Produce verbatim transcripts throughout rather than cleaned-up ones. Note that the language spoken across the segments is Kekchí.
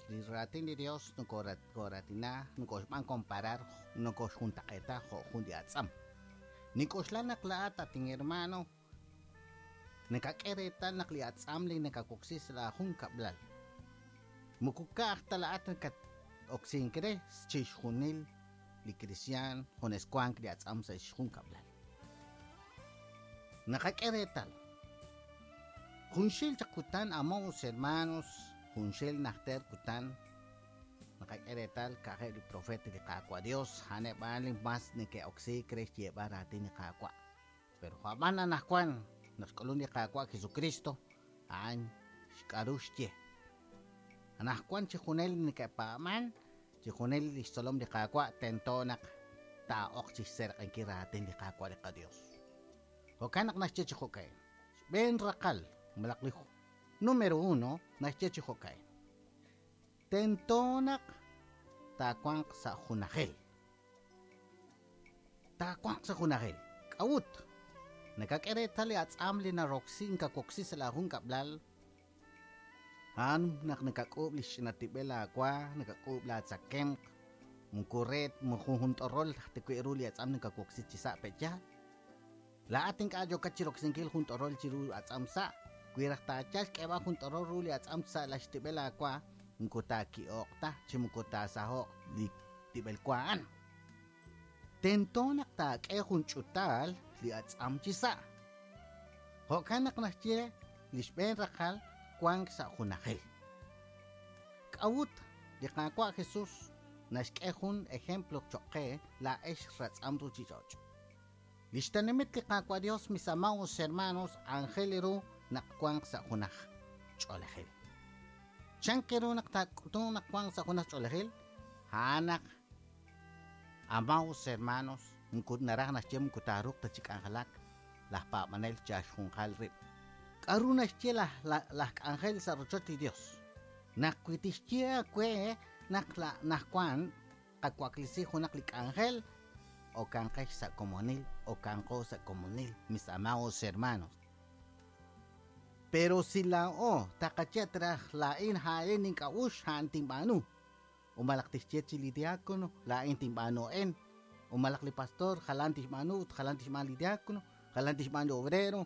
Li raatin li Dios nokoratina nokoxb'an comparar nokoxjuntaq'eeta jo' jun li atz'am. Nink'oxla naq laa'at atin hermano nakak'e reetal naq li atz'am li nakawoksi sa' la jun kab'lal. Moko ka'aj ta laa'at nakat-oksink re chixjunil li cristian junes wank li atz'am sa' xjun kab'lal. Nakak'e reetal. Junxil chaq kutan amados hermanos, junxil najter kutan nakak'e reetal ka'ajeb' li profeta li Qaawa' Dios a'aneb' li mas neke'oksiik re xyeeb'al raatin li Qaawa'. Pero jo'ab'an anaqwan naq xk'ulun li Qaawa' Jesucristo a'an xk'aru xye. Anaqwan chi junel neke'paab'an chi junel li xtzolom li Qaawa' tento naq taa'oq chi xserq'enkil raatin li Qaawa' li qaDios. Jo'kan naq naxye chi jo'ka'in. Xb'een raqal malaq li número uno naxye chi jo'ka'in. Tento naq taawanq sa' junajil. Taawanq sa' junajil. K'a'ut? Nakak'e reetal li atz'am li naroksi nkawoksi sa' la jun kab'lal. A'an naq nakak'uub' li xch'inatib'el aawa, nakak'uub' laatzakemq, moko re jun t'orol tajwi' ru li atz'am nakawoksi chi sa' pe'yaal. Laa'at ink'a' yookat chiroksinkil jun t'orol chiru atz'am sa', wi raj taayal xk'eeb'al jun t'orol ru li atz'am sa' la xtib'el aawa, moko taaki'oq ta chi moko taasaho'q li tib'el wa a'an. Tento naq taak'e jun ch'utaal li atz'am chi sa'. Jo'kan naq naxye li xb'een raqal wank sa' junajil. K'a'ut li Qaawa' Jesus naxk'e jun ejemplo choq' qe laa'ex ratz'am ruchich'och'. Li xtenamit li Qaawa' Dios, mis amados hermanos, aajel ru naq wanq sa' junaj ch'oolejil. Chan ru naq taak'utu naq wanq sa' junaj ch'oolejil? A'an naq amados hermanos, moko naraj naxye moko taaruuq ta chi k'anjelak laj paab'anel chaxjunqal rib'. K'aru naxye laj laj k'anjel sa' rochoch li Dios? Naq wi tixye aawe naq la najwan qawaklisi junaq li k'anjel okanqex sa' komonil, okanqo sa' komonil, mis amados hermanos. Pero si laa'o taqaye traj laa'in ha'in nink'a'ux a'an tinb'aanu. Umalaq tixye chi li diácono laa'in tinb'aanu en. Umalaq li pastor jalan tixb'aanu ut jalan tixb'aan li diácono, jalan tixb'aan li obrero,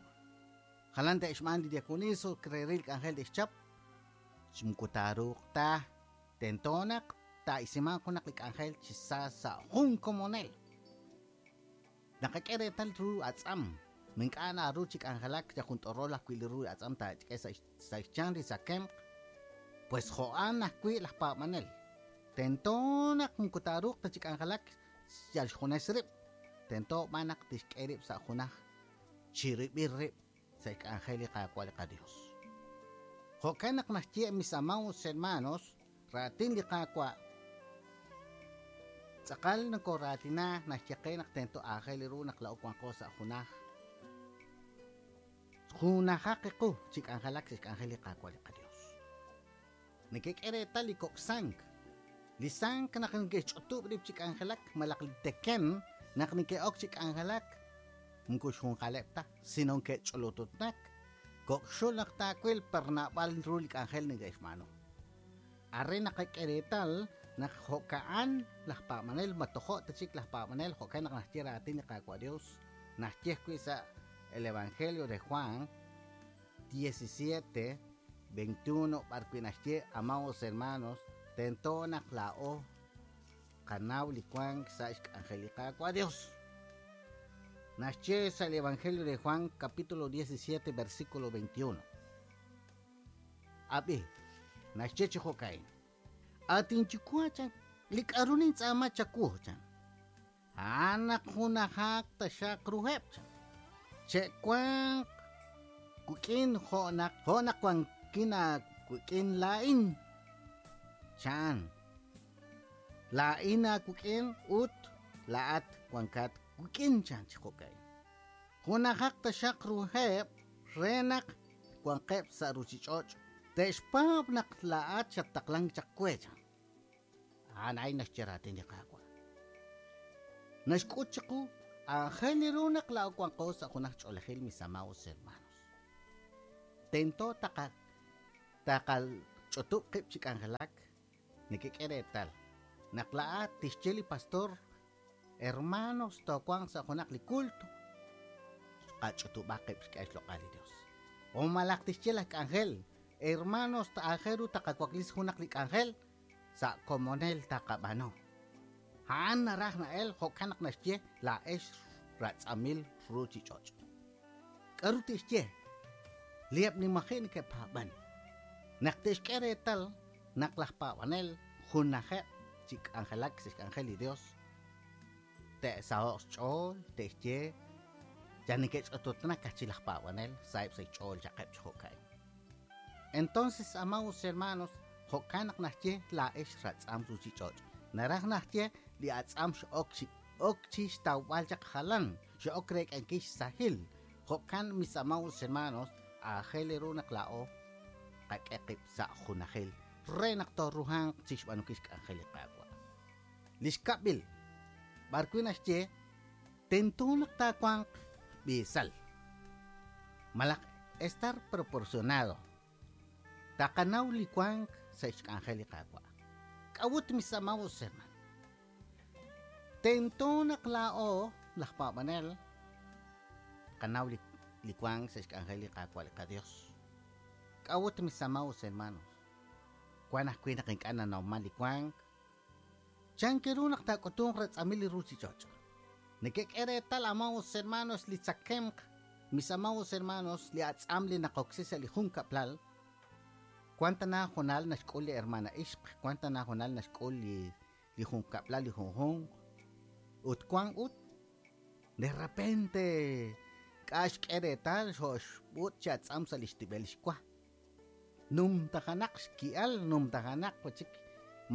jalan te'xb'aan li diaconiso reril k'anjel te'xchap. Moko taaruuq ta tento naq taa'isiman junaq li k'anjel chi sa sa' jun komonel. Naqak'e reetal ru atz'am. Mink'a' naru chi k'anjelak ya jun t'orol ajwi' li ru atz'am taak'e sa' sa' xchan li tzakemq. Pues jo'an ajwi' laj paab'anel. Tento naq moko taaruuq ta chi k'anjelak yal xjunes rib'. Tento b'an naq tixk'e rib' sa' junaj chirib'il rib' sa' xk'anjel li Qaawa' li qaDios. Jo'kan naq naxye mis amados hermanos, raatin li Qaawa' tz'aqal nokoraatina naxye qe naq tento aajel ru naq laa'o wanqo sa' junaj. Junajaq qu chi k'anjelak sa' xk'anjel li Qaawa' li qaDios. Nekek'e reetal li kok' sank. Li sank naq neke'xch'utub' rib' chi k'anjelak malaq li teken naq neke'ok chi k'anjelak moko xjunqaleb' ta, sino neke'ch'olototnak. Kok' xul naq taawil per naab'al ru li k'anjel neke'xb'aanu. Arre naqak'e reetal naq jo'ka'an laj paab'anel matojo' ta chik laj paab'anel jo'kan naq naxye raatin li Qaawa' Dios naxye ajwi' sa' el Evangelio de Juan diecisiete veintiuno b'arwi' naxye amados hermanos tento naq laa'o qanaw li wank sa' xk'anjel li Qaawa' Dios. Naxye sa' el Evangelio de Juan capítulo diecisiete versículo veintiuno. Ab'i naxye chi jo'ka'in. Atinchukua chan li k'aru nintz'aama chawu chan. A'an naq junajaq taxaq ruheb' chan. Che'wanq kuk'in jo'naq jo'naq wankin aakuk'in laa'in chan. Laa'in aakuk'in ut laa'at wankat kuk'in chan chi jo'ka'in. Junajaq taxaq ruheb' re naq wanqeb' sa' ruchich'och' te'xpaab' naq laa'at xattaqlank chaq we chan. A'an a'in naxye raatin li Qaawa'. Naxk'ut chiqu aajel ru naq laa'o wanqo sa' junaj ch'oolejil mis amados hermanos. Tento taqa taqach'utub' qib' chi k'anjelak Nekek'e reetal naq laa'at tixye li pastor, hermanos, toowanq sa' junaq li culto, qach'utub'aq qib' xk'e xloq'al li Dios. O malaq tixye laj k'anjel, hermanos, aajel ru taqawaklisi junaq li k'anjel sa' komonel taqab'aanu. A'an naraj na'el jo'kan naq naxye laa'ex ratz'amil ruuchich'och'. K'aru tixye? Li eb' li maji' neke'paab'an. Naq te'xk'e reetal naq laj paab'anel junajeb' chi k'anjelak sa' xk'anjel li Dios, te'saho'q xch'ool, te'xye ya neke'ch'ototnak chi laj paab'anel sa'eb' sa' xch'ool chaqeb' chi jo'ka'in. Entonces, amados hermanos, jo'kan naq naxye laa'ex ratz'am ruuchich'och'. Naraj naxye li atz'am x'ok chi ok chi xtawb'al chaq jalan, x'ok reek'ankil xsahil. Jo'kan, mis amados hermanos, aajel ru naq laa'o qak'e qib' sa' junajil re naq tooruhanq chi xb'aanunkil xk'anjel li Qaawa'. Li xkab'il, b'ar wi' naxye tento naq taawanq b'iisal, malaq estar proporcionado. Taqanaw li wank sa' xk'anjel li Qaawa'. K'a'ut, mis amados hermanos? Tento naq laa'o laj paab'anel qanaw li li wank sa' xk'anjel li Qaawa' li qaDios. K'a'ut, mis amados hermanos? Wan ajwi' naq ink'a' nanawman li wank. Chan ru naq taak'utunq ratz'amil li ruuchich'och'. Nekek'e reetal, amados hermanos, li tzakemq, mis amados hermanos, li atz'am li naqoksi sa' li junkab'lal. Wan tana junal naxk'ul li hermana ixq, wan tana junal naxk'ul li li junkab'lal li junjunq. Ut wan ut de repente k'a' xk'e reetal xo'xb'ut chi atz'am sa' li xtib'el xwa. Numtajanaq xki'al, numtajanaq wachik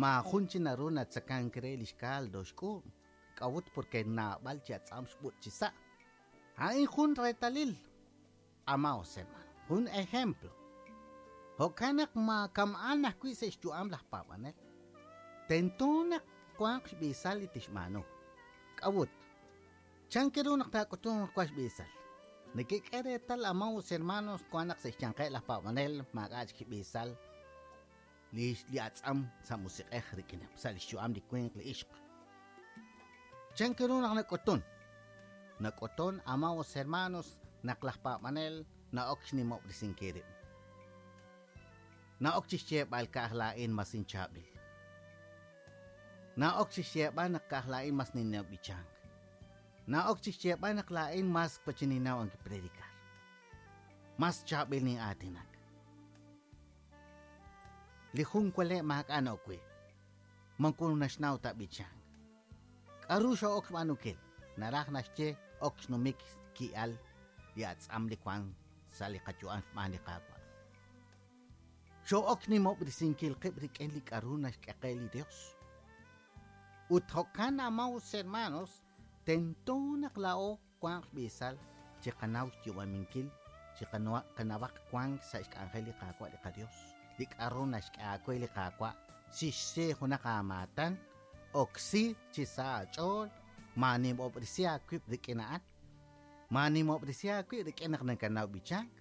maajun chi naru natzakank re li xcaldo xk'uub'. K'a'ut porque naab'al chi atz'am xb'ut chi sa'. A'in jun reetalil, amados hermanos, jun ejemplo. Jo'kan naq maakam'an ajwi' sa' xyu'am laj paab'anel. Tento naq wanq xb'iisal li tixb'aanu. K'a'ut? Chan ru naq taak'utunq wan xb'iisal? Nekek'e reetal, amados hermanos, wan naq sa' xyanqeb' laj paab'anel maak'a' chik xb'iisal li li atz'am sa' musiq'ej rik'ineb' sa' li xyu'am li winq li ixq. Chan ru naq nak'utun? Nak'utun, amados hermanos, naq laj paab'anel na'ok xnimob'resinkil rib'. Na'ok chi xyeeb'al ka'aj laa'in mas inchaab'il. Na'ok chi xyeeb'al naq ka'aj laa'in mas ninnaw b'ichank. Na'ok chi xyeeb'al naq laa'in mas pachininaw ang predicar. Mas chaab'il nin'aatinak. Li jun wale' maak'a' na'ok wi'. Mankun naxnaw ta b'ichank. K'aru xa'ok xb'aanunkil? Naraj naxye ok xnumik ki'al li atz'am li wan sa' li qayu'am xb'aan li Qaawa'. Xo'ok nimob'resinkil qib' rik'in li k'aru naxk'e qe li Dios. Ut jo'kan, amados hermanos, tento naq laa'o wanq xb'iisal chi qanaw xyu'aminkil, chi qanawaq wank sa' xk'anjel li Qaawa' li qaDios. Li k'aru naxk'e aawe li Qaawa' xixse junaq aamaatan, oksi chi sa' aach'ool, maanimob'resi aawib' rik'in a'an, maanimob'resi aawib' rik'in naq nakanaw b'ichank.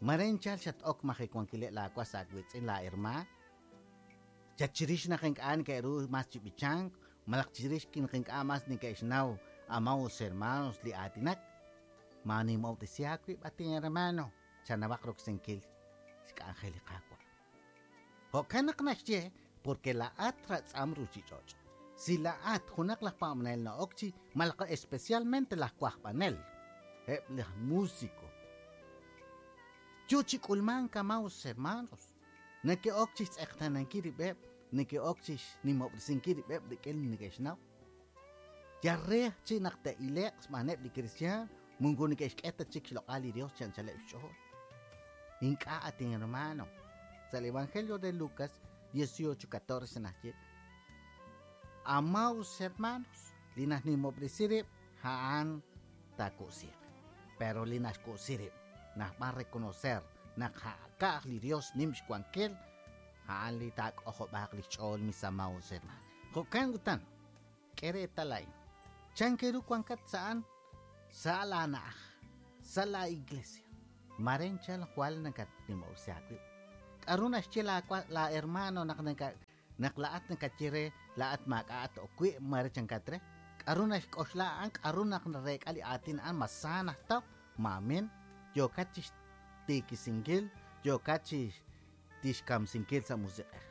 Maren chal xat-ok majiwankileb' laawas aawiitz'in laa hermaan. Chat chirix naq ink'a' neke'ru mas chi b'ichank, malaq chirix naq ink'a' mas neke'xnaw amados hermanos li aatinak. Maanimob'resi aawib' atin hermano, chanawaq roksinkil xk'anjel li Qaawa'. Jo'kan naq naxye porque laa'at ratz'am ruuchich'och'. Si laa'at junaq laj paab'anel na'ok chi malaq especialmente laj wajb'anel, eb' laj músico. Yo chi k'ulmank, amados hermanos, neke'ok chi xtz'eqtanankil rib'eb', neke'ok chi xnimob'resinkil rib'eb' rik'in li neke'xnaw. Ya re chi naq te'ile'q xb'aaneb' li cristian, mungu neke'xk'e ta chik xloq'al li Dios chi anchaleb' xch'ool. Ink'a' atin hermano. Sa' el Evangelio de Lucas dieciocho catorce naxye, amados hermanos, li najnimob'resi rib' a'an taaku'siq. Pero li naxku'si rib' naj b'an reconocer naq ka'aj li Dios nim xwankil, a'an li taak'ojob'aq li xch'ool, mis amados hermanos. Jo'kan utan, k'e reetal a'in. Chan ru wankat sa'an sa' laana'aj, sa' la iglesia. Maren chal jwal nakatnimob'resi aawib'. K'aru naxye laawa la hermano naq naka Naq laa'at nakaye re laa'at maak'a'at ok wi' mare chankat re. K'aru naxk'oxla a'an, k'aru naq nareek'a li aatin a'an, ma sa najtaw, maamin, yookat chi xtiikisinkil, yookat chi tixkamsinkil sa' musiq'ej.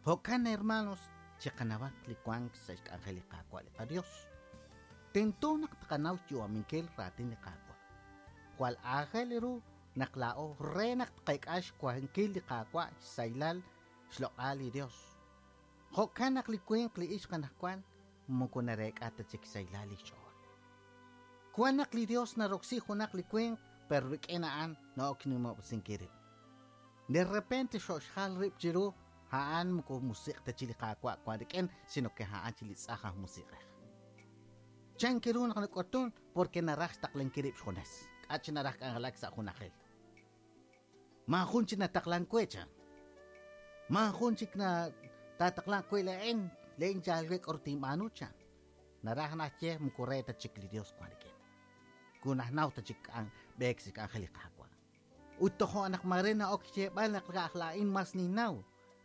Jo'kan, hermanos, chiqanawaq li wank sa' xk'anjel li Qaawa' li qaDios. Tento naq tqanaw xyu'aminkil raatin li Qaawa'. Jwal aajel ru naq laa'o re naq tqek'a xwankil li Qaawa' xsaylal xloq'al li Dios. Jo'kan naq li winq li ixq anaqwan moko nareek'a ta chik xsaylal li xch'ool. Wan naq li Dios naroksi junaq li winq, pero rik'in a'an na'ok nimob'sinkil rib'. De repente xo'xjal rib' chiru a'an moko musiq' ta chi li Qaawa' wan rik'in, sino que a'an chi li tz'aj aj musiq'ej. Chan ru naq nak'utun porque naraj xtaqlankil rib' xjunes. K'a' chi naraj k'anjelak sa' junajil. Maajun chi nataqlan we chan. Maajun chik na tataqlan we la'in, la'in yal we k'aru tinb'aanu chan. Naraj naxye moko re ta chik li Dios wan rik'in. Ku najnaw ta chik k'an b'eek sa' k'anjel li Qaawa'. Ut tojo' naq mare na'ok xyeeb'al naq ka'aj la'in mas ninnaw,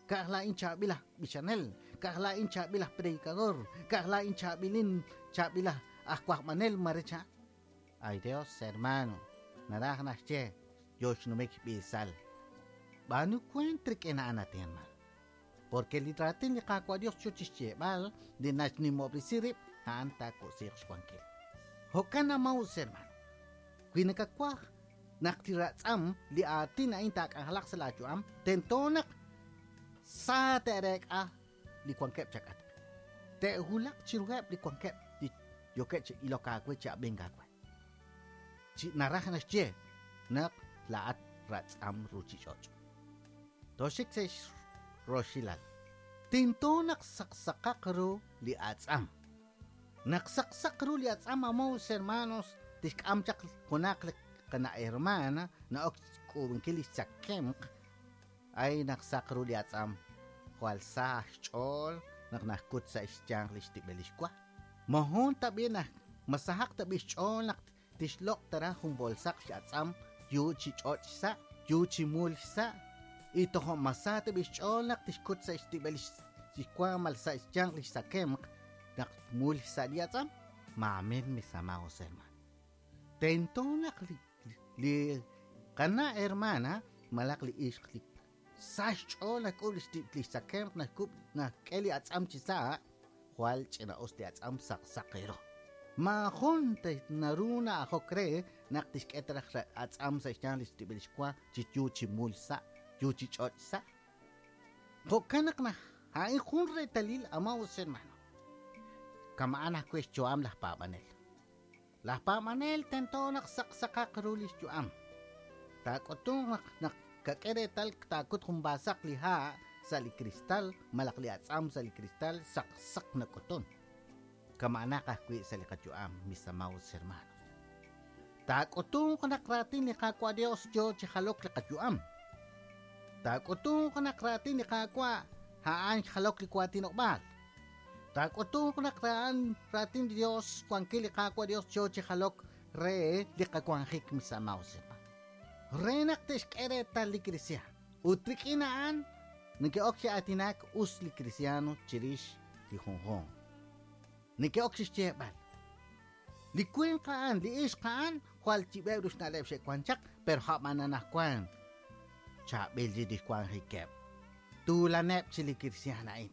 ka'aj la'in chaab'il aj b'ichanel, ka'aj la'in chaab'il aj predicador, ka'aj la'in chaab'ilin chaab'il aj aj wajb'anel mare chan. Ay Dios, hermano, naraj naxye yo xnumik b'isal. B'aanu kuent rik'in a'an ati, hermano. Porque li raatin li Qaawa' Dios yo chi xyeeb'al li naxnimob'resi rib' a'an taak'usiiq xwankil. Jo'kan amaus, hermano. Wi nakawaj naq li ratz'am li aatin a'in taak'anjelaq sa' laayu'am, tento naq sa te'reek'a li wankeb' chak'atq. Te'wulaq chiruheb' li wankeb' li yookeb' chi ilok aawe chi ab'ink aawe. Chi naraj naxye naq laa'at ratz'am ruuchich'och'. Toxik sa' xroxilal. Tento naq saqsaqaq ru li atz'am. Naq saqsaq ru li atz'am, amaus, hermanos, tixk'am chaq junaq li qana hermana na'ok xk'uub'inkil li xtzakemq. Ay naq saq ru li atz'am, jwal sa xch'ool naq najkut sa' xyanq li xtib'el li xwa. Mojun tab'i naq masahaq tab'i xch'ool naq tixloq' tara jun bolsaq x'atz'am yu chi ch'och' xsa', yu chi mul xsa', y tojo' masa tab'i xch'ool naq tixkut sa' xtib'el li xwa mal sa' xyanq li xtzakemq naq mul xsa' li atz'am. Maamin, mis amados hermanos. Tento naq li li qana hermana malaq li ixq li sa xch'ool nak'ub' li xtib' li xtzakemq nak'ub' nak'e li atz'am chi sa', jwal ch'ina'us li atz'am saqsaq ru. Maajun te naru na'ajok re naq tixk'e taraj atz'am sa' xyanq li xtib'el li xwa chi yu chi mul sa', yu chi ch'och' sa'. Jo'kan naq naj a'in jun reetalil, amados hermano. Kama'an ajwi' xyu'am laj paab'anel. Laj paab'anel tento naq saqsaqaq ru li xyu'am. Taak'utunq naq naq kak'e reetal taakut jun baasaq li ha' sa' li cristal, malaq li atz'am sa' li cristal, saqsaq nak'utun. Kama'anaq ajwi' sa' li qayu'am, mis amados hermanos. Taak'utunq naq raatin li Qaawa' Dios yo chi jalok li qayu'am. Taak'utunq naq raatin li Qaawa' a'an xjalok li waatinob'aal. Taak'utunq naq ra'an raatin li Dios wankil li Qaawa' Dios yo chi jalok re li qawanjik, mis amados hermanos. Re naq te'xk'e reetal li cristiano. Ut rik'in a'an neke'ok chi aatinak us li cristiano chirix li junjunq. Neke'ok chi xyeeb'al. Li winq a'an, li ixq a'an, jwal chib'eb' ru xna'leb' xe'wan chaq, pero jab'an anaqwan chaab'il li lixwanjikeb'. Tuulaneb' chi li cristiano a'in.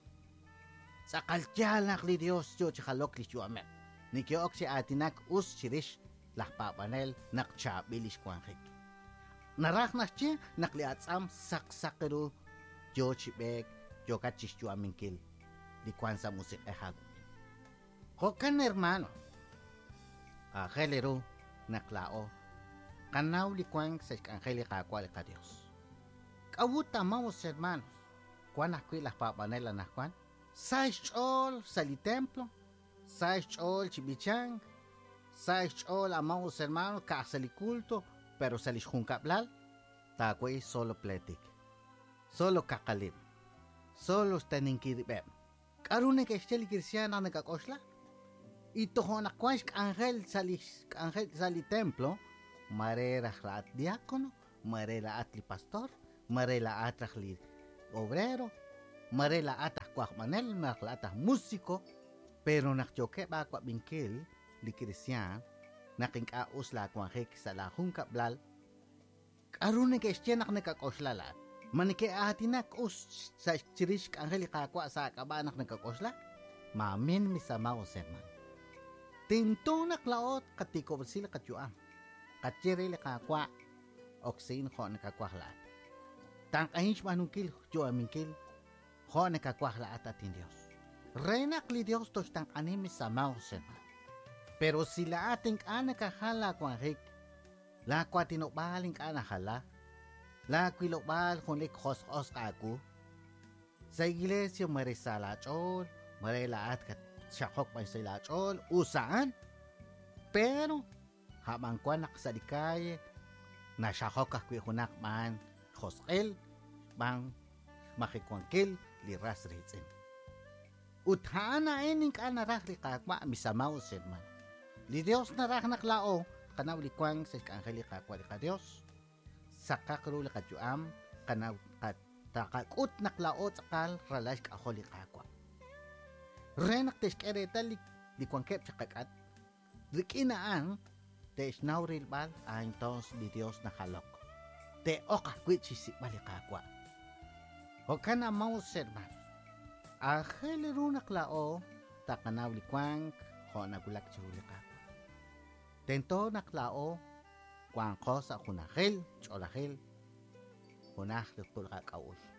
Tz'aqal yaal naq li Dios yo chi jalok li xyu'ameb'. Neke'ok chi aatinak us chirix laj paab'anel naq chaab'il li xwanjik. Naraj naxye naq li atz'am saqsaq ru yo chi b'eek, yookat chi xyu'aminkil li wan sa' musiq'ej aawik'in. Jo'kan, hermano, aajel ru naq laa'o qanaw li wank sa' xk'anjel li Qaawa' li qaDios. K'a'ut, amados hermanos, wan ajwi' laj paab'anel anaqwan sa xch'ool sa' li templo, sa xch'ool chi b'ichank, sa xch'ool, amados hermanos, ka'aj sa' li culto, pero sa' li xjunkab'lal taawei solo pletik, solo kaqalib', solo xteninkil rib'eb'. K'aru neke'xye li cristiano naq nakak'oxla? Y tojo' naq wan xk'anjel sa' li xk'anjel sa' li templo, mare raj la'at diácono, mare la'at li pastor, mare la'at raj li obrero, Mare laa'at aj wajb'anel, naq laa'at aj músico, pero naq yookeb' aawab'inkil li kristiaan, naq ink'a' us laawanjik sa' laajunkab'lal, k'aru neke'xye naq nakak'oxla laa'at? Ma neke'aatinak us sa' chirix k'anjel li Qaawa' sa' aak'ab'a' naq nakak'oxla? Maamin, mis amados hermanos. Tento naq laa'o qatikob'resi li qayu'am. Qaye re li Qaawa' oksiin jo' nakawaj laa'at. Tanq'ahin xb'aanunkil yu'aminkil jo' nakawaj laa'at atin Dios. Re naq li Dios toxtanq'ani, mis amados hermanos. Pero si laa'at ink'a' nakajal laawanjik, laawatinob'aal ink'a' najala, laawilob'aal junlik josq'osq aawu, sa' iglesia mare sa' laach'ool, mare laa'at katxaqok b'an sa' laach'ool, us a'an, pero jab'an wan naq sa' li calle naxajok ajwi' junaq b'an josq'il, b'an xmajikuankil li ras riitz'in. Ut a'an a'in ink'a' naraj li Qaawa', mis amados hermanos. Li Dios naraj naq laa'o qanaw li wank sa' xk'anjel li Qaawa' li qaDios. Saqaq ru li qayu'am, qanaw taqak'ut naq laa'o tz'aqal ralal xk'ajol li Qaawa'. Re naq te'xk'e reetal li, li wankeb' chiqak'at, rik'in a'an te'xnaw rilb'al a entonces li Dios najalok. Te'oq ajwi' chixsik'b'al li Qaawa'. Jo'kan amados hermanos, aajel ru naq laa'o taqanaw li wank jo' nawulak chiru li Qaawa'. Tento naq laa'o wanqo sa' junajil, ch'olajil, junaj li qak'a'uxl.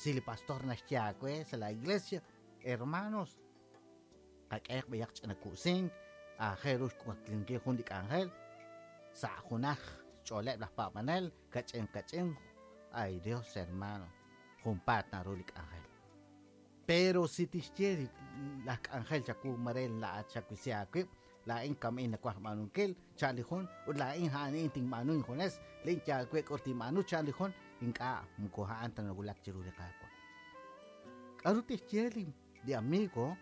Si li pastor naxye aawe sa' la iglesia, hermanos, qak'ehaq b'ayaq ch'ina ku'sink, aajel ru xwaklinkil jun li k'anjel, sa' junaj xch'ooleb' laj paab'anel, kach'in kach'in, ay Dios hermano, junpaat naru li k'anjel. Pero si tixye laj k'anjel chawu mare laa'at xawisi aawib', laa'in kam'in nawaj b'aanunkil, chan li jun, ut laa'in a'an tinb'aanu injunes, lin yaal we k'ur tinb'aanu chan li jun, ink'a' moko a'an ta nawulak chiru li Qaawa'. K'aru tixye li, li amigo,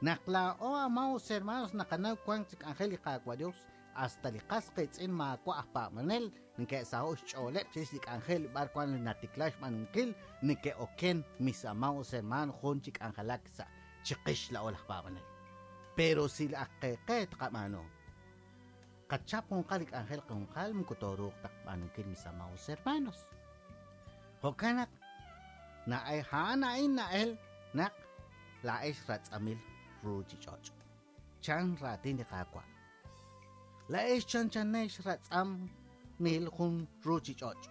naq laa'o amados hermanos naqanaw wank chi k'anjel li Qaawa' Dios, hasta li qas qiitz'in maawa' aj paab'anel, neke'saho' xch'ooleb' chirix li k'anjel b'ar wan li natikla xb'aanunkil, neke'oken mis amados hermanos jun chi k'anjelak sa' chiqix laa'o laj paab'anel. Pero si la qeqe tqab'aanu, qachap junqal li k'anjel junqal moko tooruuq taqb'aanunkil mis amados hermanos. Jo'kan naq na'e a'an a'in na'el naq laa'ex ratz'amil ruuchich'och'. Chan raatin li Qaawa'. Laa'ex chanchanex ratz'am mil jun ruuchich'och'.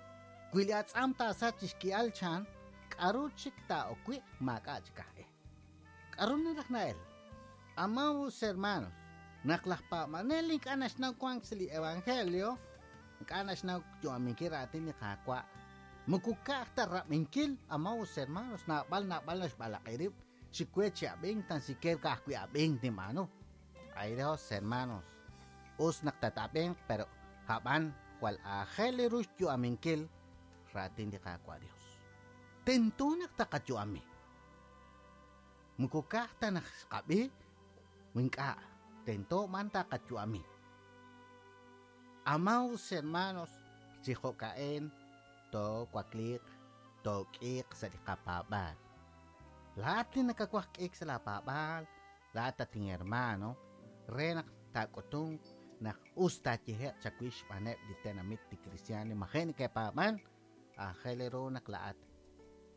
Wi li atz'am taasach chixki'al chan, k'aru chik taa'ok wi' maak'a' chik aj e. K'aru naraj na'el? Amados hermanos, naq laj paab'anel ink'a' naxnaw wank sa' li evangelio, ink'a' naxnaw yu'aminkil raatin li Qaawa', moko ka'aj ta rab'inkil, amados hermanos, naab'al naab'al naxb'alaq'i rib', xikwe chi ab'ink, tan siquiera ka'ajwi' ab'ink tinb'aanu. Ay Dios, hermanos, us naq tat'ab'inq, pero jab'an jwal aajel ru xyu'aminkil raatin li Qaawa' Dios. Tento naq taqayu'ami. Moko ka'aj ta naq xqab'i, ink'a' tento man taqayu'ami. Amados hermanos, chi jo'ka'en toowakliiq, took'iiq sa' li qapaab'aal. Laa'at li nakawaj k'iik sa' laapaab'aal, laa'at atin hermano, re naq taak'utunq naq us taayehe'q chawix xb'aaneb' li tenamit li cristiano li maji' neke'paab'an, aajel ru naq laa'at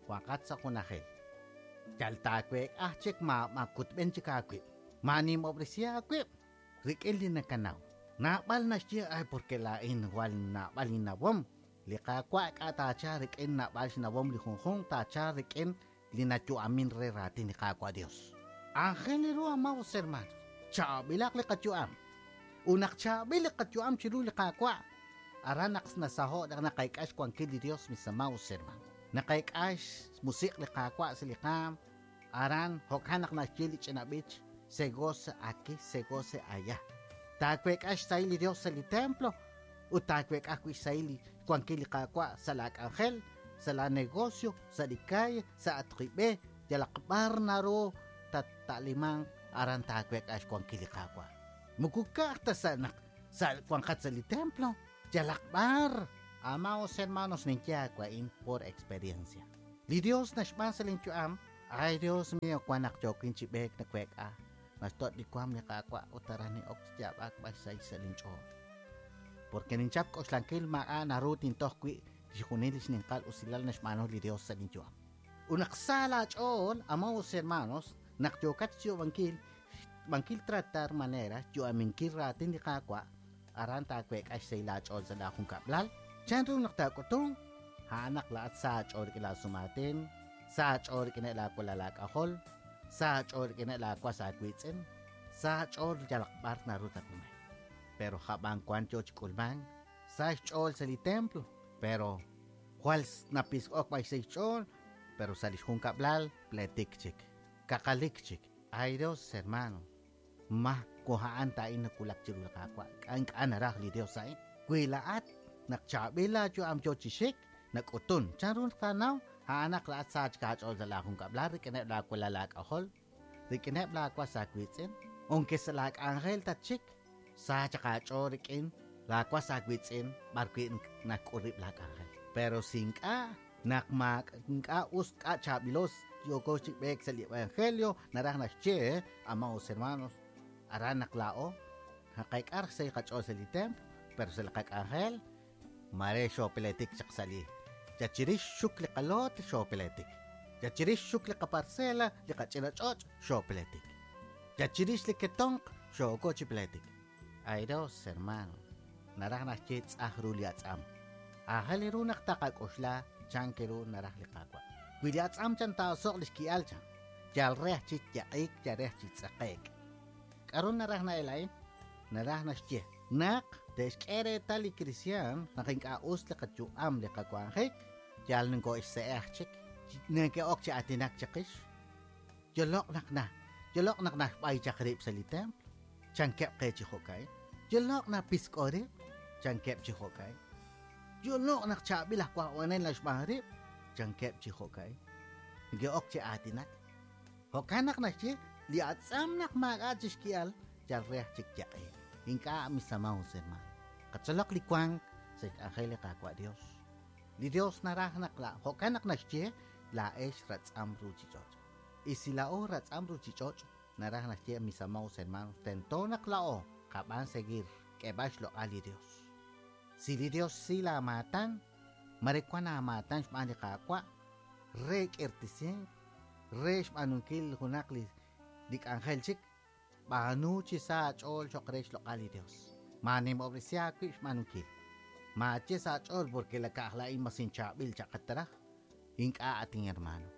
wanqat sa' junajil. Yal taaweek'aj chik ma makutb'en chik aawib', maanimob'resi aawib' rik'in li nakanaw. Naab'al naxye, ay porque laa'in igual naab'al innawom. Li Qaawa' k'a' taacha rik'in naab'al xnawom li junjunq taacha rik'in li nayu'amin re raatin li Qaawa' Dios. Aajel ru amados hermanos, chaab'ilaq li qayu'am. Ut naq chaab'il li qayu'am chiru li Qaawa', aran naq nasaho' naq naqayk'a xwankil li Dios, mis amados hermanos. Naqayk'a xmusiq' li Qaawa' sa' li qaam, aran jo'kan naq naxye li ch'ina b'ich, se goza aquí, se goce allá. Taaweek'a xsahil li Dios sa' li templo, ut taaweek'a ajwi' xsahil li xwankil li Qaawa' sa' la k'anjel, sa' la negocio, sa' li calle, sa' atqib'e, yalaq b'ar naru tata'limanq, aran taaweek'a xwankil li Qaawa'. Moko ka'aj ta sa' naq sa' wanqat sa' li templo, yalaq b'ar. Amados hermanos, ninye aawa'in por experiencia. Li Dios naxb'aan sa' linyu'am, Ay, Dios mío, wan naq yookin chi b'eek naweek'a. Naxtoch' li waam li Qaawa' ut aran nin'ok chi yaab'ak b'ay sa' sa' linch'ool. Porque ninchap k'oxlankil maak'a' naru tintoj wi' chixjunil li xninqal usilal naxb'aanu li Dios sa' linyu'am. Ut naq sa laach'ool, amados hermanos, naq yookat xyu'ankil, xb'ankil tratar manera, xyu'aminkil raatin li Qaawa', aran taaweek'a xsahil aach'ool sa' laajunkab'lal. Chan ru naq taak'utun? A'an naq laa'at sa aach'ool rik'in laasumaatin, sa aach'ool rik'ineb' laawalal laak'ajol, sa aach'ool rik'ineb' laawas aawiitz'in, sa aach'ool yalaq b'ar naru tatnume. Pero jab'an wan yoo chi k'ulmank, sa xch'ool sa' li templo, pero jwal napisk'ok b'ay sa' xch'ool, pero sa' li xjunkab'lal pletik chik, kaqalik chik. Ay Dios, hermano, ma ko a'an ta'in nakulak chiru li Qaawa', k'a ink'a' naraj li Dios a'in. Wi laa'at naq chaab'il laayu'am yoo chi xik, nak'utun. Chan ru taanaw? A'an naq laa'at sa chik aach'ool sa' laajunkab'lal rik'ineb' laawalal laak'ajol, rik'ineb' laawas aawiitz'in, aunque sa' laak'anjel tatxik, sa chaq aach'ool rik'in laawas aawiitz'in b'ar wi' nak'ul rib' laak'anjel. Pero si ink'a' naq ma ink'a' us k'a' chaab'ilos yooko chi b'eek sa' li evangelio, naraj naxye, amados hermanos, aran naq laa'o naqeek'a sa' qach'ool sa' li templo, pero sa' li qak'anjel mare xoopeletik chaq sa' li ya chirix xuk li qaloot xoopeletik, ya chirix xuk li qaparcela li qach'ina ch'och' xoopeletik, ya chirix li ketonq xooko chi peletik. Ay Dios, hermano, naraj naxye tz'aj ru li atz'am. Aajel ru naq taqak'oxla chan ke ru naraj li Qaawa'. Wi li atz'am chan taa'oso'q li xki'al chan, yal re chi yaq'iik, yal re chi tz'aqe'k. K'aru naraj na'el a'in? Naraj naxye naq te'xk'e reetal li cristian naq ink'a' us li qayu'am li qawanjik, yal ninko'xse'ej chik, neke'ok chi aatinak chiqix. Yoloq naq na, yoloq naq naxb'ay chaq rib' sa' li templo, chankeb' qe chi jo'ka'in. Yoloq napisk'o rib', chankeb' chi jo'ka'in. Yoloq naq chaab'il aj waj'onel naxb'aan rib', chankeb' chi jo'ka'in. Neke'ok chi aatinak. Jo'kan naq naxye li atz'am naq maak'a' chi xki'al, yal re chik yaq'eek. Ink'a' mis amados hermano. Qatzolaq li wank sa' xk'anjel li Qaawa' Dios. Li Dios naraj naq la jo'kan naq naxye laa'ex ratz'am ruchich'och'. Y si laa'o ratz'am ruchich'och', naraj naxye mis amados hermanos, tento naq laa'o qab'an seguir k'eb'al xloq'al li Dios. Si li Dios si laamaatan, mare wan aamaatan xb'aan li Qaawa', re k'irtisink, re xb'aanunkil junaq li li k'anjel chik, b'aanu chi sa aach'ool cho'q re xloq'al li Dios. Maanimob'resi aawib' xb'aanunkil. Maaye sa aach'ool porque la ka'aj la'in mas inchaab'il chaqataraj. Ink'a' atin hermano.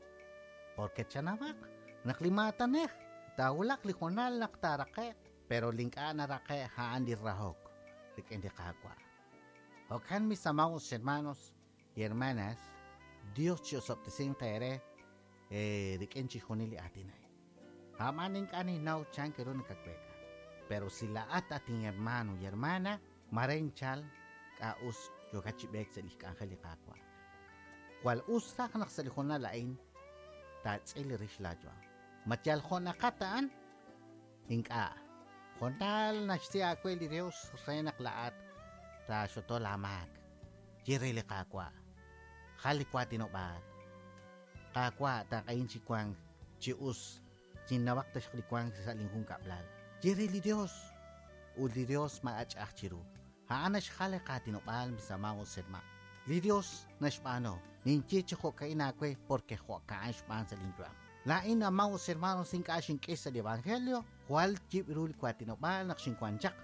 Porque chanawaq naq li maatanej taawulaq li jonal naq taaraqe'q, pero li ink'a' naraqe'q a'an li rahok rik'in li Qaawa'. Jo'kan mis amados hermanos y hermanas, Dios chi'osob'tesinq eere eh, rik'in chixjunil li aatin a'in. A'man ink'a' ninnaw chan ke ru nakaweek'a. Pero si laa'at atin hermano y hermana, mare inchal k'a' us yookat chi b'eek sa' li xk'anjel li Qaawa'. Jwal us raj naq sa' li jonal a'in taatz'il rix laayu'am. Ma yal jo'naqat a'an? Ink'a'. Jonal naxsi aawe li Dios re naq laa'at taaxoto laamaak. Ye re li Qaawa'. Jal li waatinob'aal. Qaawa' taq'ahin chi wank chi us chinnawaq taxaq li wank sa' linjunkab'lal. Ye re li Dios. Ut li Dios maak'ach'aj chiru. A'an naxjal li qaatinob'aal mis amados hermanos. Li Dios naxb'aanu. Ninye chi jo'ka'in aawe porque jo'ka'an xb'aan sa' linyu'am. La'in amados hermanos ink'a' xink'ix sa' li evangelio, jwal yib' ru li waatinob'aal naq xinwan chaq.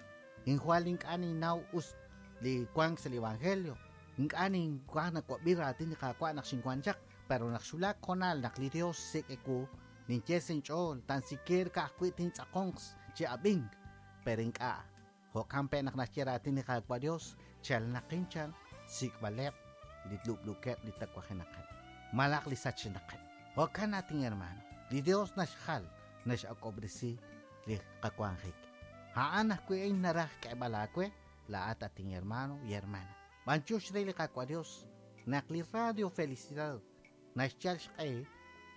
Injwal ink'a' ninnaw us li wank sa' li evangelio. Ink'a' ninwaj nawab'i raatin li Qaawa' naq xinwan chaq, pero naq xwulak jonal naq li Dios sik' ewu, ninye sa' inch'ool tan siquiera ka'ajwi' tintz'aqonq chi ab'ink, pero ink'a'. Jo'kan pe naq naxye raatin li Qaawa' Dios, chalnaqin chan sik'b'aleb' li lub'lukeb' li tawajenaqeb', malaq li sachenaqeb'. Jo'kan atin hermano, li Dios naxjal naxak'ob'resi li qawanjik. A'an ajwi' in naraj k'eb'al aawe, laa'at atin hermano y hermana. B'anchux re li Qaawa' Dios, naq li Radio Felicidad naxyal xq'e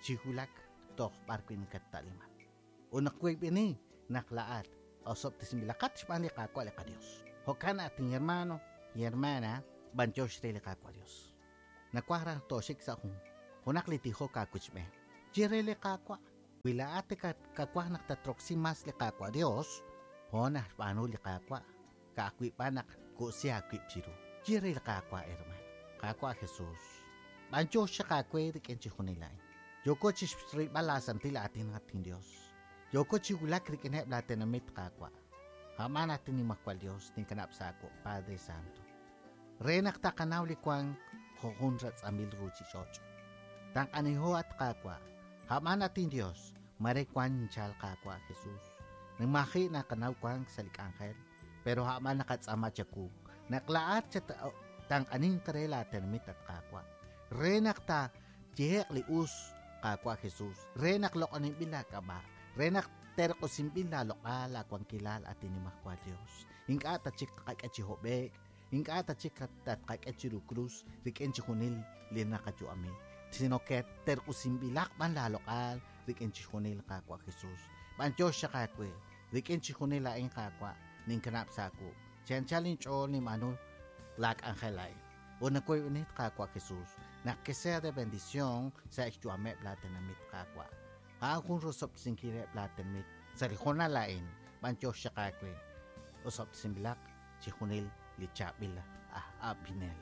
chi wulak toj b'ar wi' nakatta'liman. Ut naq wiib'ini naq laa'at osob'tesinb'ilaqat xb'aan li Qaawa' li qaDios. Jo'kan atin hermano y hermana, b'anchux re li Qaawa' Dios. Nawaj raj tooxik sa' jun junaq li tijok aawichb'een. Ye re li Qaawa'. Wi laa'at kawaj naq tatroksi mas li Qaawa' Dios, jo' naxb'aanu li Qaawa', ka'ajwi' b'an naq ku'si aawib' chiru. Ye re li Qaawa', hermano. Qaawa' Jesús. B'antiox chaq aawe rik'in chixjunil a'in. Yooko chixrilb'al laasantil aatin atin Dios. Yooko chi wulak rik'ineb' laatenamit Qaawa'. A'man atin Nimajwal Dios, ninkanab' sa' aawu, Padre Santo. Re naq taqanaw li wank jo' jun ratz'amil ruuchich'och'. Tanq'aniho at Qaawa'. A'man atin Dios, mare wan nchal Qaawa' Jesús. Nimaji' naqanaw wank sa' li k'anjel, pero a'man naqatz'aama chawu. Naq laa'at chat tanq'anin re laatenamit at Qaawa'. Re naq ta yeheq li us Qaawa' Jesús. Re naq loq'oninb'il laak'ab'a'. Re naq terq'usinb'il laaloq'al laawankilal atin Nimajwal Dios. Ink'a' ta chik qak'e chi hob'eek, ink'a' ta chik tatqak'e chiru krus rik'in chixjunil li naqayu'ami. Sino que terq'usinb'ilaq b'an laaloq'al rik'in chixjunil Qaawa' Jesús. B'antiox chaq aawe rik'in chixjunil a'in Qaawa' ninkanab' sa' aawu. Chi anchal inch'ool ninb'aanu laak'anjel a'in. Ut nakoyb'enit Qaawa' Jesús naq que sea de bendición sa' xyu'ameb' laatenamit Qaawa'. A'an jun rosob'tesinkileb' laatenamit sa' li hoonal a'in b'antiox chaq aawe. Osob'tesinb'ilaq chixjunil li chaab'il aj ab'inel.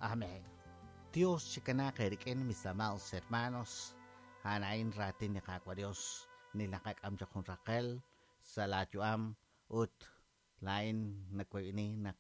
Amén. Dios chikanaaq eerik'in, mis amados hermanos. A'an a'in raatin li Qaawa' Dios ni naqak'am chaq jun raqel sa' laayu'am ut laa'in nakoyb'eni naq